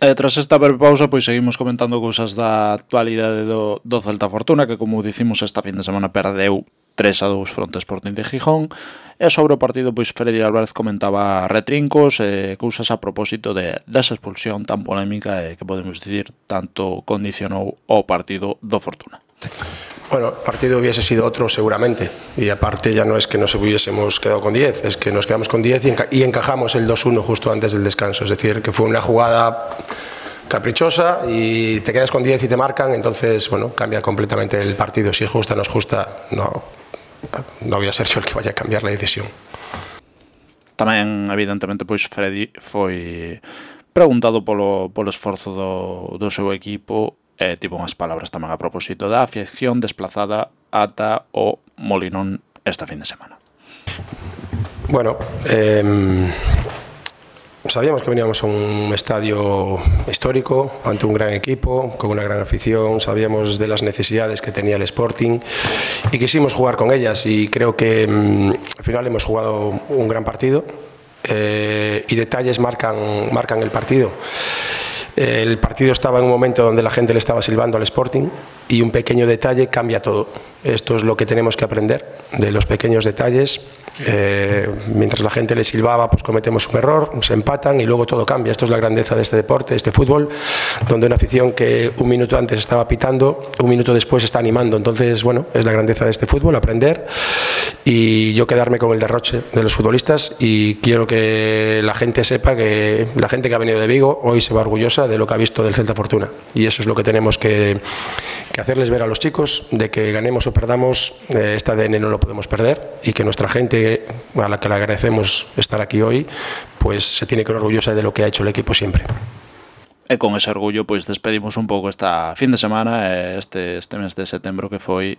Tras esta breve pausa, pois seguimos comentando cousas da actualidade do Celta Fortuna, que como dicimos esta fin de semana perdeu 3-2 fronte ao Sporting de Gijón, e sobre o partido pois Freddy Álvarez comentaba retrincos e cousas a propósito desa expulsión tan polémica e que podemos dicir tanto condicionou o partido do Fortuna. Bueno, el partido hubiese sido otro seguramente, y aparte ya no es que nos hubiésemos quedado con 10, es que nos quedamos con 10 y encajamos el 2-1 justo antes del descanso, es decir, que fue una jugada caprichosa y te quedas con 10 y te marcan, entonces, bueno, cambia completamente el partido. Si es justa o no es justa, no voy a ser yo el que vaya a cambiar la decisión. Tamén, evidentemente, pois Freddy foi preguntado polo esforzo do seu equipo e tivo unhas palabras tamén a propósito da afección desplazada ata o Molinón esta fin de semana. Bueno, sabíamos que veníamos a un estadio histórico, ante un gran equipo, con una gran afición, sabíamos de las necesidades que tenía el Sporting y quisimos jugar con ellas y creo que al final hemos jugado un gran partido y detalles marcan el partido. El partido estaba en un momento donde la gente le estaba silbando al Sporting y un pequeño detalle cambia todo. Esto es lo que tenemos que aprender de los pequeños detalles. Mientras la gente le silbaba, pues cometemos un error, se empatan y luego todo cambia. Esto es la grandeza de este deporte, de este fútbol, donde una afición que un minuto antes estaba pitando, un minuto después está animando. Entonces, bueno, es la grandeza de este fútbol, aprender y yo quedarme con el derroche de los futbolistas y quiero que la gente sepa que la gente que ha venido de Vigo hoy se va orgullosa de lo que ha visto del Celta Fortuna y eso es lo que tenemos que hacerles ver a los chicos, de que ganemos o perdamos, este ADN no lo podemos perder y que nuestra gente, a la que le agradecemos estar aquí hoy, pues se tiene que ir orgullosa de lo que ha hecho el equipo siempre. E con ese orgullo pois despedimos un pouco esta fin de semana este mes de setembro que foi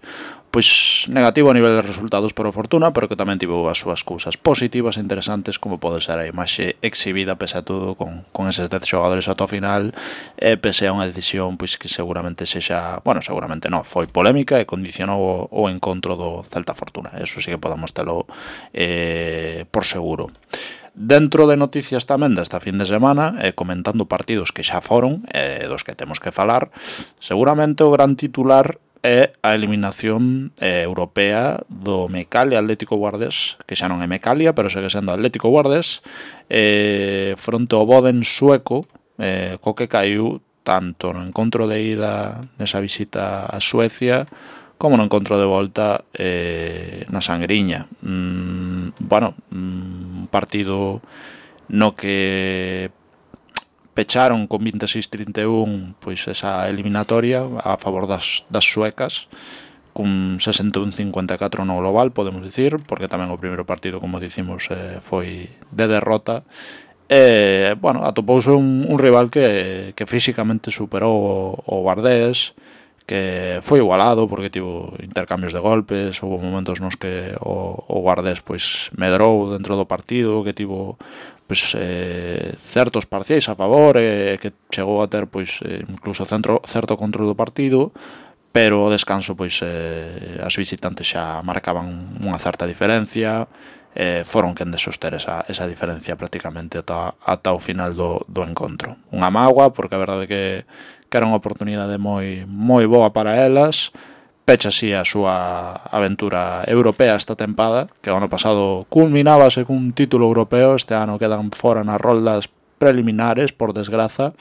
pois negativo a nivel de resultados por o Fortuna, pero que tamén tivo as súas cousas positivas e interesantes, como pode ser a imaxe exhibida pese a todo con eses 10 xogadores ata o final e pese a unha decisión pois que seguramente seguramente non, foi polémica e condicionou o encontro do Celta Fortuna. Eso sí que podemos telo por seguro. Dentro de noticias tamén desta fin de semana, comentando partidos que xa foron, dos que temos que falar, seguramente o gran titular é a eliminación europea do Mecalia Atlético Guardés, que xa non é Mecalia, pero segue sendo Atlético Guardés, fronte ao Boden sueco, co que caiu tanto no encontro de ida nesa visita a Suecia, como no encontro de volta na Sangriña. Un partido no que pecharon con 26-31 pois esa eliminatoria a favor das suecas, cun 61-54 no global, podemos dicir, porque tamén o primeiro partido, como dicimos, foi de derrota. Atopouse un rival que físicamente superou o Guardés, que foi igualado porque tivo intercambios de golpes, houve momentos nos que o Guardés pois medrou dentro do partido, que tivo pois certos parciais a favor e que chegou a ter pois incluso certo control do partido, pero o descanso pois as visitantes xa marcaban unha certa diferencia, foron quen de soster esa diferencia prácticamente ata o final do encontro. Unha mágoa, porque a verdade que era unha oportunidade moi boa para elas. Pecha así a súa aventura europea esta tempada, que o ano pasado culminábase cun título europeo, este ano quedan fora nas roldas preliminares, por desgraza.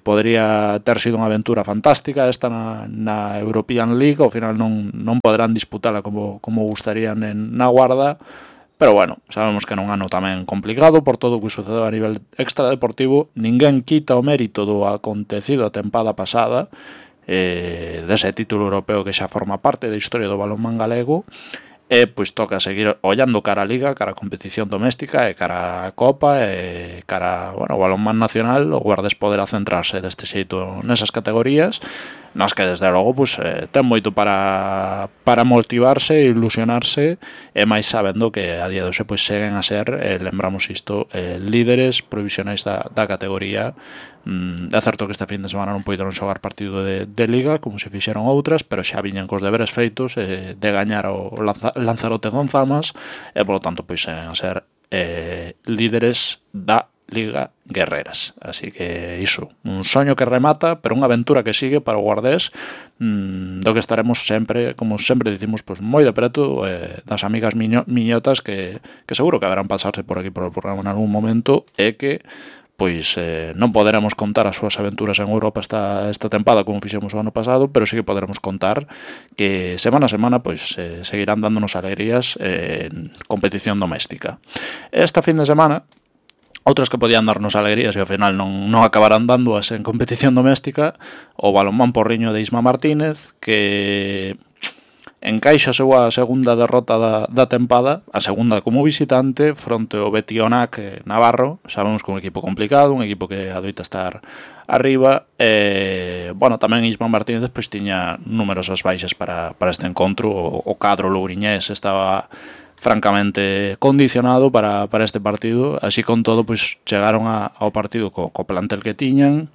Podría ter sido unha aventura fantástica esta na European League, ao final non poderán disputala como gustarían na Guarda, pero bueno, sabemos que era un ano tamén complicado por todo o que sucedeu a nivel extradeportivo. Ninguén quita o mérito do acontecido a tempada pasada, dese título europeo que xa forma parte da historia do balonmán galego, e pois toca seguir ollando cara a Liga, cara a competición doméstica e cara a Copa e cara o balonmán nacional. O Guardés poderá centrarse deste xeito nesas categorías, nas que desde logo ten moito para motivarse e ilusionarse, e máis sabendo que a día de hoxe seguen a ser, lembramos isto, líderes provisionais da categoría. É certo que este fin de semana non poideron xogar partido de Liga como se fixeron outras, pero xa viñan cos deberes feitos de gañar o Lanzarote Gonzamas e polo tanto seguen a ser líderes da Liga Guerreras. Así que iso, un soño que remata, pero unha aventura que sigue para o Guardés, do que estaremos sempre, como sempre dicimos, pues, moi de preto das amigas miñotas que seguro que haberán pasarse por aquí por o programa en algún momento e que pois non poderemos contar as súas aventuras en Europa esta tempada como fixemos o ano pasado, pero sí que poderemos contar que semana a semana pois seguirán dándonos alegrías en competición doméstica. Esta fin de semana, outras que podían darnos alegrías e ao final non acabarán dándoas en competición doméstica, o balonmán Porriño de Isma Martínez, que encaixa a súa segunda derrota da tempada, a segunda como visitante, fronte ao Betionac Navarro. Sabemos que é un equipo complicado, un equipo que adoita estar arriba. Bueno, tamén Isma Martínez pois tiña numerosas baixas para este encontro. O cadro louriñés estaba francamente condicionado para este partido. Así con todo, pois chegaron ao partido co plantel que tiñan.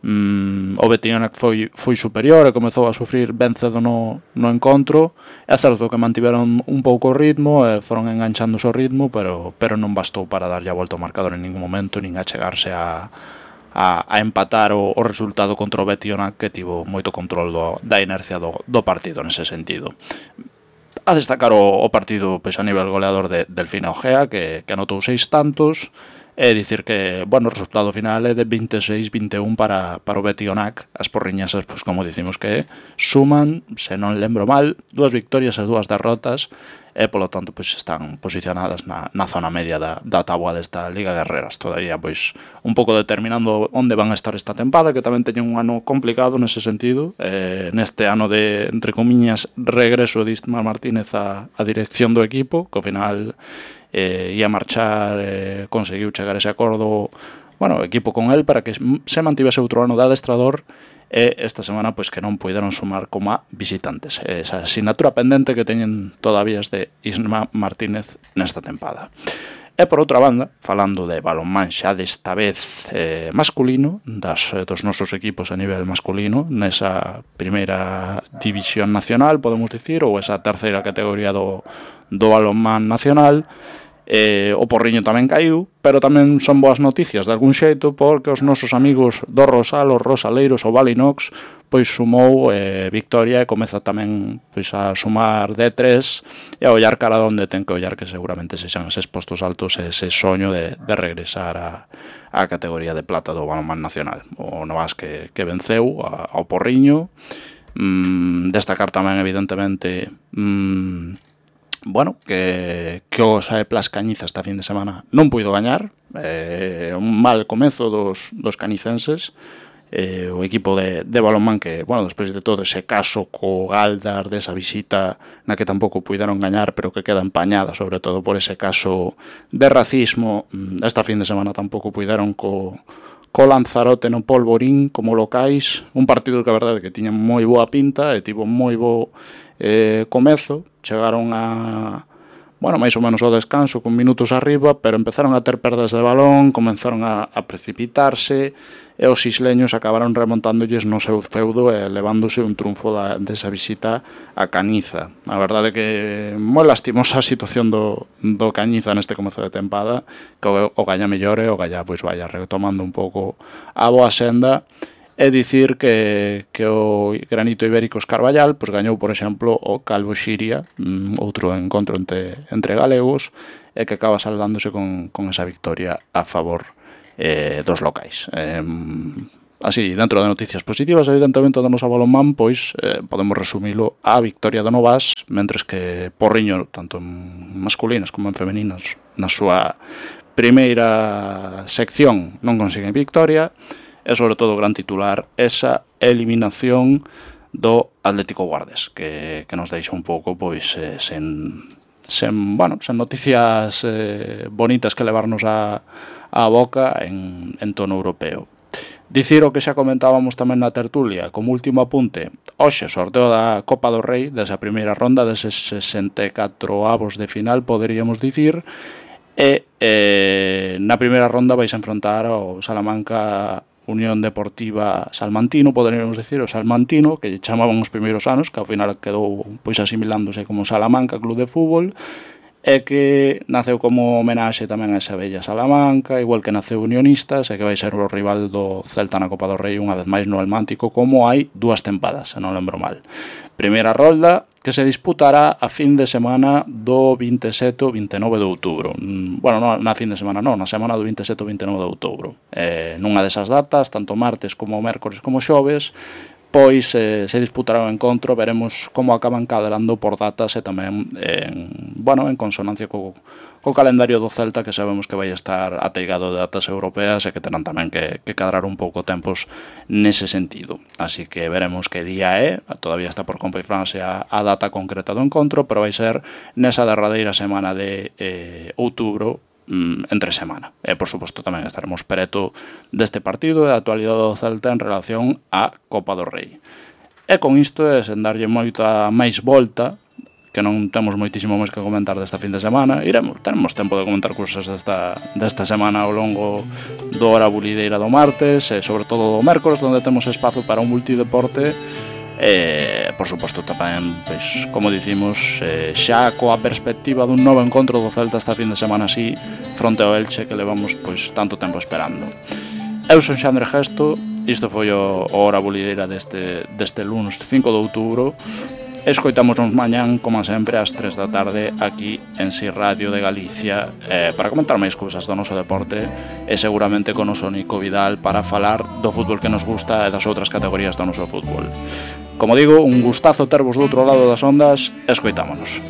O Betionac foi superior e comezou a sufrir ben cedo no encontro. É certo que mantiveron un pouco o ritmo e foron enganchándose o ritmo, pero non bastou para darlle a volta ao marcador en ningún momento, nin a chegarse a empatar o resultado contra o Betionac, que tivo moito control da inercia do partido nese sentido. A destacar o partido pois, a nivel goleador de Delfina Ojea, que anotou 6 tantos. É dicir que, bueno, o resultado final é de 26-21 para o Betionac. As porriñasas, pois como dicimos que suman, se non lembro mal, 2 victorias e 2 derrotas e, polo tanto, pois están posicionadas na zona media da táboa desta Liga Guerreras. Todavía, pois, un pouco determinando onde van a estar esta tempada, que tamén teñen un ano complicado nese sentido. Neste ano de, entre comiñas, regreso de Isma Martínez a dirección do equipo, que ao final ia marchar, conseguiu chegar a ese acordo, bueno, o equipo con él para que se mantivese outro ano de adestrador, e esta semana pois que non puideron sumar como a visitantes. Esa asignatura pendente que teñen todavía de Isma Martínez nesta tempada. E por outra banda, falando de balonmán xa desta vez masculino, dos nosos equipos a nivel masculino, nesa primeira división nacional, podemos dicir, ou esa terceira categoría do balonmán nacional, o Porriño tamén caiu, pero tamén son boas noticias de algún xeito, porque os nosos amigos do Rosal, os rosaleiros, o Valinox, pois sumou victoria e comeza tamén pois a sumar D3 e a ollar cara onde ten que ollar, que seguramente sexan eses postos altos e ese soño de regresar á categoría de plata do balonmán nacional. O Novas que venceu ao Porriño. Destacar tamén evidentemente bueno, que o Saeplas Cañiza esta fin de semana non puido gañar, un mal comezo dos canicenses, o equipo de balonmán que, bueno, despois de todo ese caso co Galdar, desa visita na que tampouco puideron gañar, pero que queda empañada sobre todo por ese caso de racismo, esta fin de semana tampouco puideron co Lanzarote no Polvorín como locais, un partido que a verdade que tiña moi boa pinta e tivo moi bo comezo. Chegaron a, bueno, máis ou menos ao descanso con minutos arriba, pero empezaron a ter perdas de balón, comenzaron a precipitarse e os isleños acabaron remontándoles no seu feudo e levándose un triunfo desa visita a Cañiza. A verdade é que moi lastimosa a situación do Cañiza neste comezo de tempada, que o Galla mellore, o Galla pois vaya retomando un pouco a boa senda. É dicir que o Granito Ibérico Escarballal pois gañou, por exemplo, o Calvo Xiria, outro encontro entre galegos, e que acaba saldándose con esa victoria a favor dos locais. Así, dentro de noticias positivas, evidentemente, do noso balonmán, pois podemos resumilo a victoria do Novas, mentres que Porriño, tanto en masculinas como en femeninas, na súa primeira sección non consiguen victoria. E sobre todo o gran titular, esa eliminación do Atlético Guardés, que nos deixa un pouco pois sen noticias bonitas que levarnos a boca en tono europeo. Dicir o que xa comentábamos tamén na tertulia, como último apunte, hoxe sorteo da Copa do Rei, desa primeira ronda, deses 64avos de final, poderíamos dicir, e na primeira ronda vais a enfrontar ao Salamanca Unión Deportiva Salmantino, poderíamos decir, o Salmantino, que chamaban os primeiros anos, que ao final quedou pois asimilándose como Salamanca Club de Fútbol, e que naceu como homenaxe tamén a esa bella Salamanca, igual que naceu Unionistas, e que vai ser o rival do Celta na Copa do Rei unha vez máis no Almántico, como hai 2 tempadas, se non lembro mal. Primeira rolda que se disputará a fin de semana do 27 ou 29 de outubro. Bueno, non na fin de semana non, na semana do 27 ou 29 de outubro. Nunha desas datas, tanto martes como mércores como xoves, pois se disputará o encontro, veremos como acaban cadelando por datas e tamén en consonancia co calendario do Celta, que sabemos que vai estar ateigado de datas europeas e que terán tamén que cadrar un pouco tempos nese sentido. Así que veremos que día é, todavía está por confirmarse a data concreta do encontro, pero vai ser nesa derradeira semana de outubro, entre semana. E, por suposto, tamén estaremos preto deste partido e da actualidade do Celta en relación á Copa do Rei. E con isto, sen darlle moita máis volta, que non temos moitísimo máis que comentar desta fin de semana, teremos tempo de comentar cousas desta semana ao longo do Hora Bulideira do martes, e sobre todo do mércores, onde temos espazo para un multideporte. Por suposto tamén, pois, como dicimos, xa coa perspectiva dun novo encontro do Celta esta fin de semana así, fronte ao Elche, que levamos pois tanto tempo esperando. Eu son Xandre Gesto, isto foi o Hora Bulideira deste lunes 5 de outubro. Escoitámonos mañán, como sempre, ás 3 da tarde aquí en Si Radio de Galicia, para comentar máis cousas do noso deporte e seguramente con o noso Nico Vidal para falar do fútbol que nos gusta e das outras categorías do noso fútbol. Como digo, un gustazo tervos do outro lado das ondas, escoitámonos.